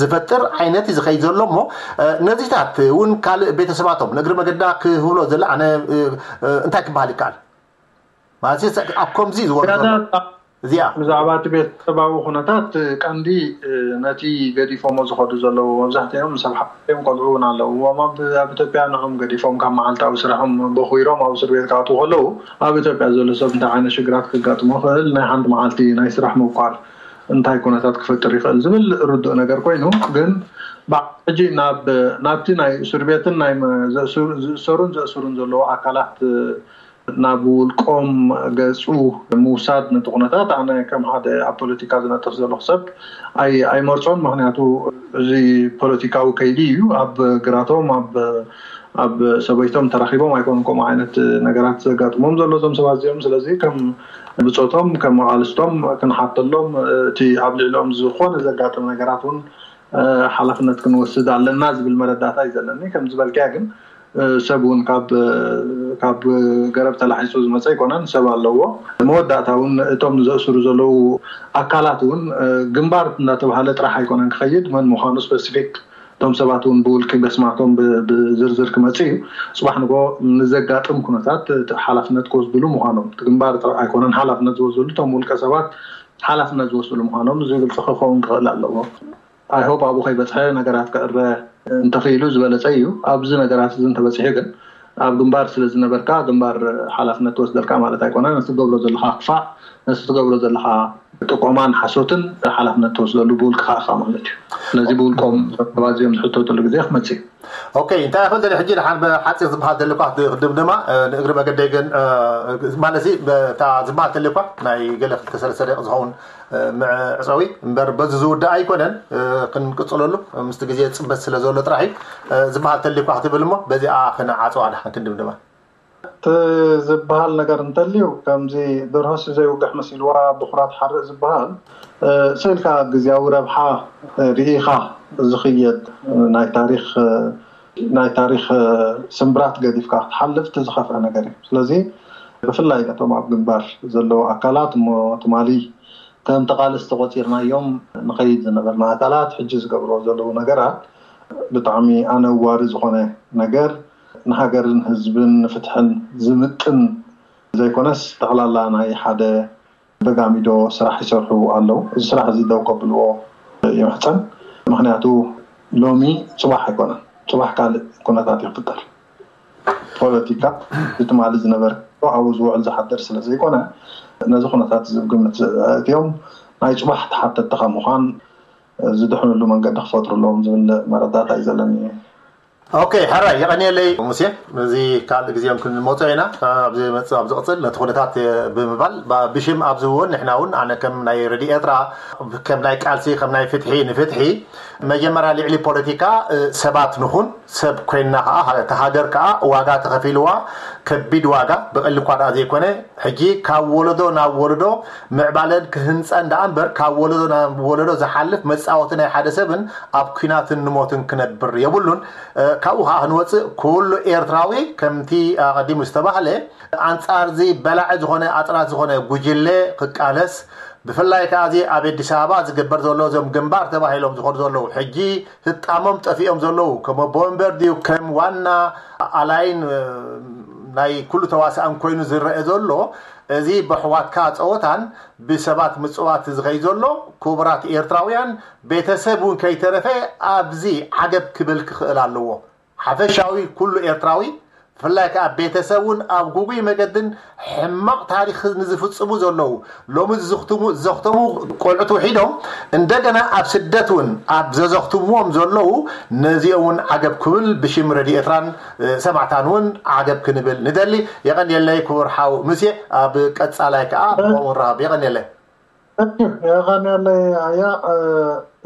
ዝፈጥር ዓይነት እዩ ዝኸይድ ዘሎ። እሞ ነዚታት እውን ካልእ ቤተሰባቶም ንእግሪ መገዳ ክህብሎ ዘለ ኣነ እንታይ ክበሃል ይከኣል ማለት ኣብ ከምዚ ዝወርዶ እዚኣ? ብዛዕባ እቲ ቤተሰባዊ ኩነታት ቀንዲ ነቲ ገዲፎሞ ዝኸዱ ዘለዉ መብዛሕትኦም ሰብ ሓዮም ቆልዑ እውን ኣለዉ። ኣብ ኢትዮጵያ ንኦም ገዲፎም ካብ መዓልታዊ ስራሖም በኪሮም ኣብ እስር ቤት ክኣትዉ ከለዉ ኣብ ኢትዮጵያ ዘሎ ሰብ እንታይ ዓይነት ሽግራት ክጋጥሞ ክእል ናይ ሓንቲ መዓልቲ ናይ ስራሕ ምቋር እንታይ ኩነታት ክፈጥር ይኽእል ዝብል ርዱእ ነገር ኮይኑ ግን ሕጂ ናብቲ ናይ እስር ቤትን ናይ ዝእሰሩን ዘእስሩን ዘለዉ ኣካላት ናብ ውልቆም ገጹ ምውሳድ ነቲ ኩነታት ኣነ ከም ሓደ ኣብ ፖለቲካ ዝነጥፍ ዘለኹ ሰብ ኣይመርጾን። ምክንያቱ እዚ ፖለቲካዊ ከይዲ እዩ። ኣብ ግራቶም ኣብ ሰበይቶም ተራኺቦም ኣይኮኑን ከምኡ ዓይነት ነገራት ዘጋጥሞም ዘሎ እዞም ሰባት እዚኦም። ስለዚ ከም ብጾቶም ከም መቓልስቶም ክንሓተሎም እቲ ኣብ ልዕሊኦም ዝኾነ ዘጋጥም ነገራት እውን ሓላፍነት ክንወስድ ኣለና ዝብል መረዳእታ እዩ ዘለኒ። ከም ዝበልክያ ግን ሰብ እውን ካብ ገረብ ተላሒሱ ዝመፀ ኣይኮነን፣ ሰብ ኣለዎ። መወዳእታ እውን እቶም ዘእስሩ ዘለዉ ኣካላት እውን ግንባር እናተባሃለ ጥራሕ ኣይኮነን ክኸይድ፣ መን ምዃኑ ስፐሲፊክ እቶም ሰባት እውን ብውልቂ በስማቶም ብዝርዝር ክመፅእ እዩ። ፅባሕ ንጎ ንዘጋጥም ኩነታት ሓላፍነት ክወስድሉ ምዃኖም ግንባር ኣይኮነን ሓላፍነት ዝወስድሉ፣ እቶም ውልቀ ሰባት ሓላፍነት ዝወስድሉ ምዃኖም እዚ ግልፂ ክኸውን ክኽእል ኣለዎ። ኣይሆፕ ኣብኡ ከይበፅሐ ነገራት ክዕረ እንተኽኢሉ ዝበለፀ እዩ። ኣብዚ ነገራት እዚ እንተበፂሑ ግን ኣብ ግንባር ስለ ዝነበርካ ግንባር ሓላፍነት ትወስደልካ ማለት ኣይኮነ። ነቲ ትገብሮ ዘለካ ክፋእ፣ ነቲ ትገብሮ ዘለካ ጥቆማን ሓሶትን ሓላፍነት ትወስደሉ ብውልቅኻ ኢኻ ማለት እዩ። ስለዚ ብውልቆም ሰባት እዚኦም ዝሕተተሉ ግዜ ክመፅእ እዩ። ኦኬ፣ እንታይ ይኽእል ደሊ ሕጂ ደሓን ብሓፂር ዝበሃል ደሊ እኳ ክድምድማ ንእግሪ መገደይ ግን ማለት እታ ዝበሃል ተሊ እኳ ናይ ገለ ክልተ ሰለስተ ደቂ ዝኸውን ምዕፀዊ እምበር በዚ ዝውዳእ ኣይኮነን ክንቅፅለሉ ምስቲ ግዜ ፅበት ስለ ዘሎ ጥራሕ እዩ ዝበሃል ተሊኳ ክትብል እሞ በዚኣ ክንዓፀዋ ድሓን ክንድምድማ። እቲ ዝበሃል ነገር እንተልዩ ከምዚ ደርሆስ ዘይውግሕ መሲልዋ ብኩራት ሓርእ ዝበሃል ስእልካ ግዜያዊ ረብሓ ርኢኻ ዝኽየድ ናይ ታሪክ ናይ ታሪክ ስምብራት ገዲፍካ ክትሓልፍ እቲ ዝኸፍአ ነገር እዩ። ስለዚ ብፍላይ ነቶም ኣብ ግንባር ዘለዉ ኣካላት እሞ ትማሊ ከም ተቓለስቲ ቆፂርናዮም ንኸይድ ዝነበርና ኣካላት ሕጂ ዝገብርዎ ዘለዉ ነገራት ብጣዕሚ ኣነዋሪ ዝኾነ ነገር ንሃገርን ህዝብን ንፍትሕን ዝምጥን ዘይኮነስ ጠቕላላ ናይ ሓደ በጋሚዶ ስራሕ ይሰርሑ ኣለዉ። እዚ ስራሕ እዚ ደው ከብልዎ ይምሕፀን። ምክንያቱ ሎሚ ፅባሕ ኣይኮነን፣ ፅባሕ ካልእ ኩነታት ይፍጠር። ፖለቲካ ብትማሊ ዝነበረ ኣብኡ ዝውዕል ዝሓድር ስለ ዘይኮነ ነዚ ኩነታት እዚ ብግምት ኣእትዮም ናይ ፅባሕ ተሓተትቲ ካብ ምዃን ዝድሕንሉ መንገዲ ክፈጥሩ ኣለዎም ዝብል መረዳእታ እዩ ዘለኒ። ኦኬ፣ ሕራይ የቐንየለይ ሙሴ። እዚ ካልእ ግዜኦም ክንመፆ ኢና ኣብዚ መፅእ ኣብ ዝቕፅል ነቲ ኩነታት ብምባል ብሽም ኣብዚ እውን ንሕና እውን ኣነ ከም ናይ ረድዮ ኤርትራ ከም ናይ ቃልሲ ከም ናይ ፍትሒ ንፍትሒ መጀመርያ ልዕሊ ፖለቲካ ሰባት ንኹን ሰብ ኮይንና ከዓ እታ ሃገር ከዓ ዋጋ ተኸፊልዋ ከቢድ ዋጋ ብቐሊ እኳ ደኣ ዘይኮነ ሕጂ ካብ ወለዶ ናብ ወለዶ ምዕባለን ክህንፀን ደኣ እምበር ካብ ወለዶ ናብ ወለዶ ዝሓልፍ መፃወቲ ናይ ሓደ ሰብን ኣብ ኲናትን ንሞትን ክነብር የብሉን። ካብኡ ከዓ ክንወፅእ ኩሉ ኤርትራዊ ከምቲ ኣቐዲሙ ዝተባህለ ኣንፃር እዚ በላዒ ዝኾነ ኣፅናት ዝኾነ ጉጅለ ክቃለስ ብፍላይ ከዓ እዚ ኣብ ኣዲስ ኣበባ ዝግበር ዘሎ እዞም ግንባር ተባሂሎም ዝኾኑ ዘለዉ ሕጂ ህጣሞም ጠፊኦም ዘለዉ ከም ኣቦ ወንበር ድዩ ከም ዋና ኣላይን ናይ ኩሉ ተዋሳእን ኮይኑ ዝረአ ዘሎ እዚ ብሕዋትካ ፀወታን ብሰባት ምፅዋት ዝኸይ ዘሎ ክቡራት ኤርትራውያን ቤተሰብ እውን ከይተረፈ ኣብዚ ዓገብ ክብል ክኽእል ኣለዎ። ሓፈሻዊ ኩሉ ኤርትራዊ ብፍላይ ከዓ ቤተሰብ እውን ኣብ ጉጉይ መገድን ሕማቕ ታሪክ ንዝፍፅሙ ዘለዉ ሎሚ ዘኽትሙ ቆልዑት ውሒዶም እንደገና ኣብ ስደት እውን ኣብ ዘዘኽትምዎም ዘለዉ ነዚኦም እውን ዓገብ ክብል ብሽም ረድዮ ኤርትራን ሰማዕታን እውን ዓገብ ክንብል ንደሊ። የቐንየለይ ክቡር ሓው ምሴ፣ ኣብ ቀፃላይ ከዓ ብኸምኡ ንራኸብ። የቐንየለይ። የቐንየለይ። ኣያ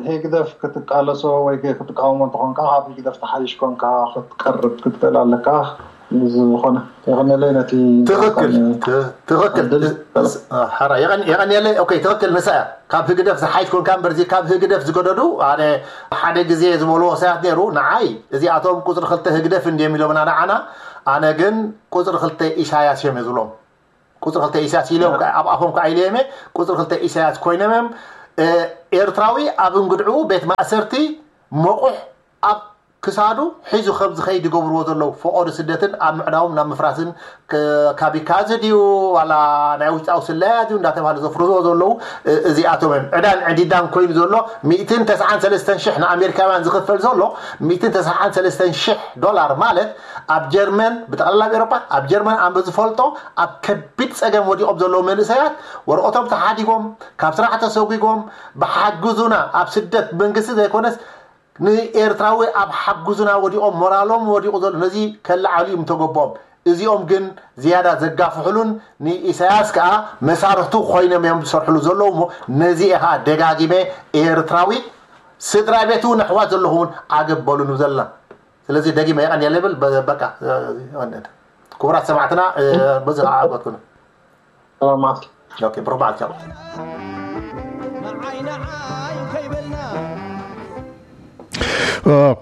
ህግደፍ ክትቃለሶ ወይ ክትቃወሞ እንተኾንካ ካብ ህግደፍ ተሓይሽ ኮንካ ክትቀርብ ክትክእል ኣለካ። ዝኾነ የቐንየለይ ነቲ ትኽክል ትኽክል ሓራ የቐንየለይ። ኦኬ ትኽክል ንሳ እያ። ካብ ህግደፍ ዝሓይሽ ኮንካ እምበር እዚ ካብ ህግደፍ ዝገደዱ ኣነ ሓደ ግዜ ዝበልዎ ክሳያት ነይሩ ንዓይ እዚኣቶም ቁፅሪ ክልተ ህግደፍ እንድዮም ኢሎምና ንዓና። ኣነ ግን ቁፅሪ ክልተ ኢሳያስ እዮም ዝብሎም። ቁፅሪ ክልተ ኢሳያስ ኢሎም ኣብ ኣፎም ከዓ ኢለዮም እየ። ቁፅሪ ክልተ ኢሳያስ ኮይኖም እዮም። ኤርትራዊ ኣብ እንግድዕኡ ቤት ማእሰርቲ መቑሕ ኣብ ክሳዱ ሒዙ ከም ዝኸይድ ይገብርዎ ዘለዉ፣ ፈቐዶ ስደትን ኣብ ምዕናዎም ናብ ምፍራስን፣ ካብ ይካዝ ድዩ ዋላ ናይ ውሽጣዊ ስለያ ድዩ እንዳተባሃለ ዘፍርዝዎ ዘለዉ። እዚኣቶም እዮም ዕዳን ዕዲዳን ኮይኑ ዘሎ። ሚእትን ተስዓን ሰለስተን ሽሕ ንኣሜሪካውያን ዝኽፈል ዘሎ፣ ሚእትን ተስዓን ሰለስተን ሽሕ ዶላር ማለት ኣብ ጀርመን፣ ብጠቕላላ ኣብ ኤሮፓ፣ ኣብ ጀርመን ኣንበ ዝፈልጦ ኣብ ከቢድ ጸገም ወዲቖም ዘለዉ መንእሰያት ወረቐቶም ተሓዲጎም፣ ካብ ስራሕ ተሰጒጎም፣ ብሓግዙና ኣብ ስደት መንግስቲ ዘይኮነስ ንኤርትራዊ ኣብ ሓጉዝና ወዲቖም፣ ሞራሎም ወዲቑ ዘሎ፣ ነዚ ከለዓሉ እዩ ምተገቦም። እዚኦም ግን ዝያዳ ዘጋፍሕሉን ንኢሳያስ ከኣ መሳርሕቱ ኮይኖም እዮም ዝሰርሕሉ ዘለዉ። እሞ ነዚ እየ ከኣ ደጋጊመ ኤርትራዊ ስድራ ቤቱ ነሕዋት ዘለኹ እውን ዓገብ በሉ ንብል ዘለና። ስለዚ ደጊመ የቐንየለ ይብል። በቃ ክቡራት ሰማዕትና በዚ ከዓገትኩ። ሰላም መዓልቲ። ኦኬ፣ ብሩኽ በዓል። ቻው።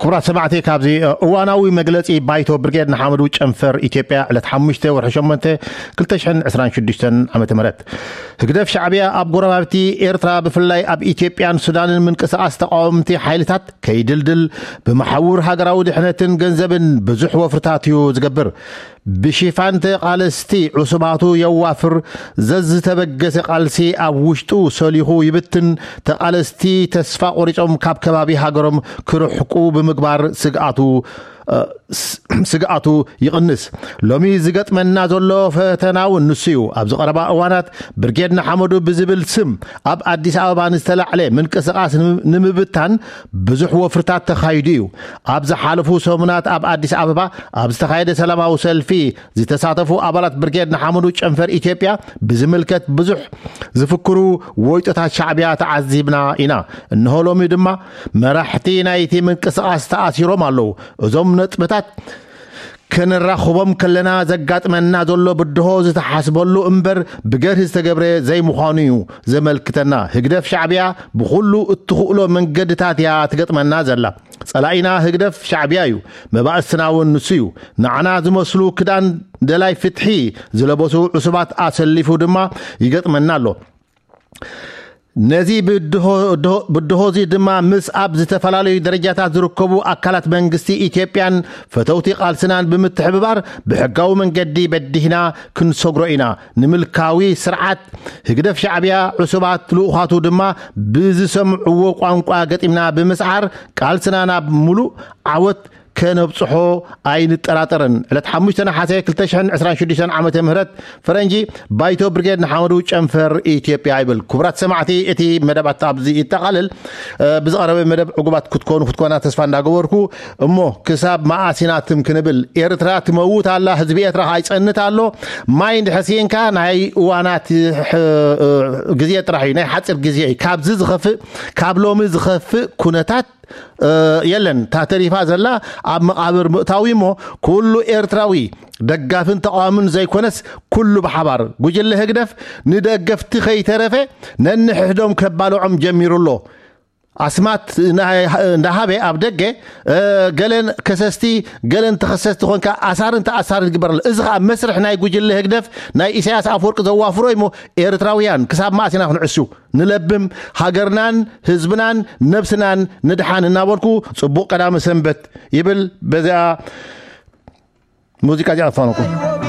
ክቡራት ሰማዕቲ፣ ካብዚ እዋናዊ መግለጺ ባይቶ ብርጌድ ንሓመዱ ጨንፈር ኢትዮጵያ ዕለት ሓሙሽተ ወርሒ ሸሞንተ ክልተ ሽሕን ዕስራን ሽዱሽተን ዓመተ ምህረት፣ ህግደፍ ሻዕብያ ኣብ ጎረባብቲ ኤርትራ ብፍላይ ኣብ ኢትዮጵያን ሱዳንን ምንቅስቓስ ተቓወምቲ ሓይልታት ከይድልድል ብመሓውር ሃገራዊ ድሕነትን ገንዘብን ብዙሕ ወፍርታት እዩ ዝገብር። ብሽፋን ተቓለስቲ ዕሱባቱ የዋፍር። ዘዝተበገሰ ቃልሲ ኣብ ውሽጡ ሰሊኹ ይብትን። ተቓለስቲ ተስፋ ቆሪጾም ካብ ከባቢ ሃገሮም ክርሕቁ ብምግባር ስግኣቱ ስግኣቱ ይቕንስ። ሎሚ ዝገጥመና ዘሎ ፈተና እውን ንሱ እዩ። ኣብዚ ቀረባ እዋናት ብርጌድ ንሓመዱ ብዝብል ስም ኣብ ኣዲስ ኣበባ ንዝተላዕለ ምንቅስቓስ ንምብታን ብዙሕ ወፍርታት ተኻይዱ እዩ። ኣብ ዝሓለፉ ሰሙናት ኣብ ኣዲስ ኣበባ ኣብ ዝተኻየደ ሰላማዊ ሰልፊ ዝተሳተፉ ኣባላት ብርጌድ ንሓመዱ ጨንፈር ኢትዮጵያ ብዝምልከት ብዙሕ ዝፍክሩ ወይጦታት ሻዕብያ ተዓዚብና ኢና። እንሆ ሎሚ ድማ መራሕቲ ናይቲ ምንቅስቓስ ተኣሲሮም ኣለዉ። እዞም ነጥብታት ከነራኽቦም ከለና ዘጋጥመና ዘሎ ብድሆ ዝተሓስበሉ እምበር ብገርሂ ዝተገብረ ዘይምዃኑ እዩ ዘመልክተና። ህግደፍ ሻዕብያ ብኹሉ እትኽእሎ መንገድታት እያ ትገጥመና ዘላ። ጸላኢና ህግደፍ ሻዕብያ እዩ። መባእስትና እውን ንሱ እዩ። ንዓና ዝመስሉ ክዳን ደላይ ፍትሒ ዝለበሱ ዕሱባት ኣሰሊፉ ድማ ይገጥመና ኣሎ። ነዚ ብድሆ እዚ ድማ ምስ ኣብ ዝተፈላለዩ ደረጃታት ዝርከቡ ኣካላት መንግስቲ ኢትዮጵያን ፈተውቲ ቃልስናን ብምትሕብባር ብሕጋዊ መንገዲ በዲህና ክንሰግሮ ኢና። ንምልካዊ ስርዓት ህግደፍ ሻዕብያ ዕሱባት ልኡኻቱ ድማ ብዝሰምዕዎ ቋንቋ ገጢምና ብምስዓር ቃልስና ናብ ሙሉእ ዓወት ከነብጽሖ ኣይንጠራጠርን። ዕለት ሓሙሽተ ነሓሰ ክልተ ሽሕን ዕስራን ሽዱሽተን ዓመተ ምህረት ፈረንጂ ባይቶ ብርጌድ ንሓመዱ ጨንፈር ኢትዮጵያ ይብል። ክቡራት ሰማዕቲ፣ እቲ መደባት ኣብዚ ይጠቓልል። ብዝቐረበ መደብ ዕጉባት ክትኮኑ ክትኮና ተስፋ እንዳገበርኩ፣ እሞ ክሳብ መኣስ ኢና ትም ክንብል? ኤርትራ ትመውት ኣላ፣ ህዝቢ ኤርትራ ከዓ ይጸንት ኣሎ። ማይ እንድሕር ስኢንካ ናይ እዋናት ግዜ ጥራሕ እዩ፣ ናይ ሓፂር ግዜ እዩ። ካብዚ ዝኸፍእ፣ ካብ ሎሚ ዝኸፍእ ኩነታት የለን። እታ ተሪፋ ዘላ ኣብ መቓብር ምእታዊ እሞ ኩሉ ኤርትራዊ ደጋፍን ተቓዋምን ዘይኮነስ ኩሉ ብሓባር ጉጅለ ህግደፍ ንደገፍቲ ከይተረፈ ነንሕሕዶም ከባልዖም ጀሚሩ ኣሎ። ኣስማት እንዳሃበ ኣብ ደገ ገለን ከሰስቲ ገለን ተኸሰስቲ ኮንካ ኣሳርን ተኣሳርን ይግበር ኣሎ። እዚ ከዓ መስርሕ ናይ ጉጅለ ህግደፍ ናይ ኢሳያስ ኣፈወርቂ ዘዋፍሮ እሞ ኤርትራውያን ክሳብ መኣስ ኢና ክንዕሱ? ንለብም፣ ሃገርናን ህዝብናን ነብስናን ንድሓን እናበልኩ ጽቡቕ ቀዳመ ሰንበት ይብል። በዚኣ ሙዚቃ እዚኣ ኣፋነኩም።